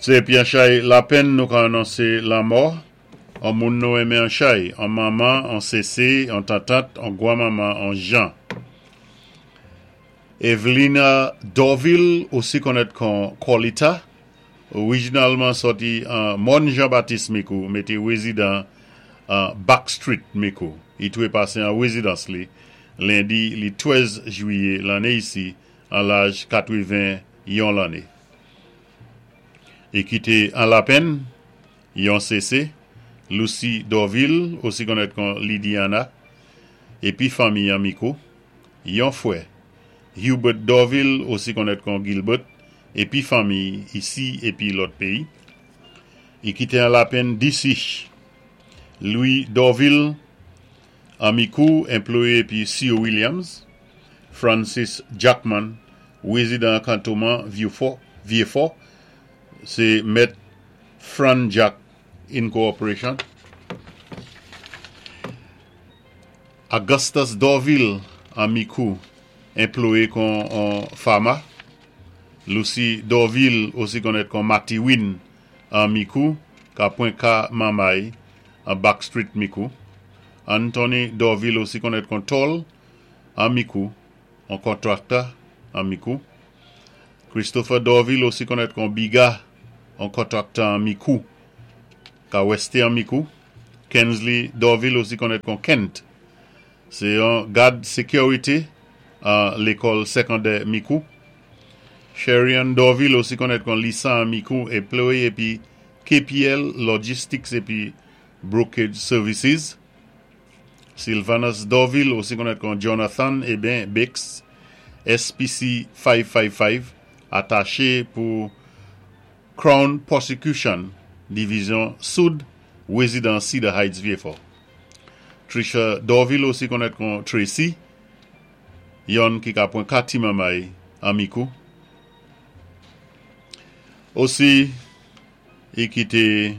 Sé épi an chay lapenn nou ka anonsé lanmò an moun nou enmen an chay, an manman, an sésé, an tantant, an gwanmanman, an jan. Evelina Dorvil, osi konnèt kon Corlita, orijinalman sòti an Mòn Jan Batis Mikou, mété wézidan an Back Street Mikou. I twépasé an wézidans li lendi li 13 jwiyé lanné isi an laj 81 lanné. I kité an lapenn yon sésé, Lucy Dorvil, osi konnèt kon Lydiana, épi fanmi an Mikou, yon fwè, Hubert Dorvil, osi konnèt kon Gilbert, épi fanmi isi épi lòt péyi. I kité an lapenn disi. Louis Dorvil, an Mikou, enployé épi C.O. Williams, Francis Jackman, wézidan kantonman Vieux-Fort, sé mèt Fran Jack Incorporation. Augustus Dorvil, an Mikou, enployé kon an pharma. Lucy Dorvil, osi konnèt kon Matty Win, an Mikou, ka pwan ka manmay, an Back Street Mikou. Anthony Dorvil, osi konnèt kon Tol, an Mikou, an contractor an Mikou. Christopher Dorvil, osi konnèt kon Biga, an contractor an Mikou, ka wèsté an Mikou. Kensley Dorvil, osi konnèt kon Kent, sé an gad sékirité an lékòl sékondè Mikou. Sherian Dorvil, osi konnèt kon Lisa an Mikou, enployé épi KPL Logistics épi Brokerage Services. Sylvanus Dorvil, osi konnèt kon Jonathan eben Bix, SPC 555, ataché pou Crown Prosecution, Divizyon Soud, wézidan Cedar Heights, Vieux-Fort. Trisha Dorvil, osi konnèt kon Tracy, yonn ki ka pwan ka ti manmay an Mikou. Osi, i kité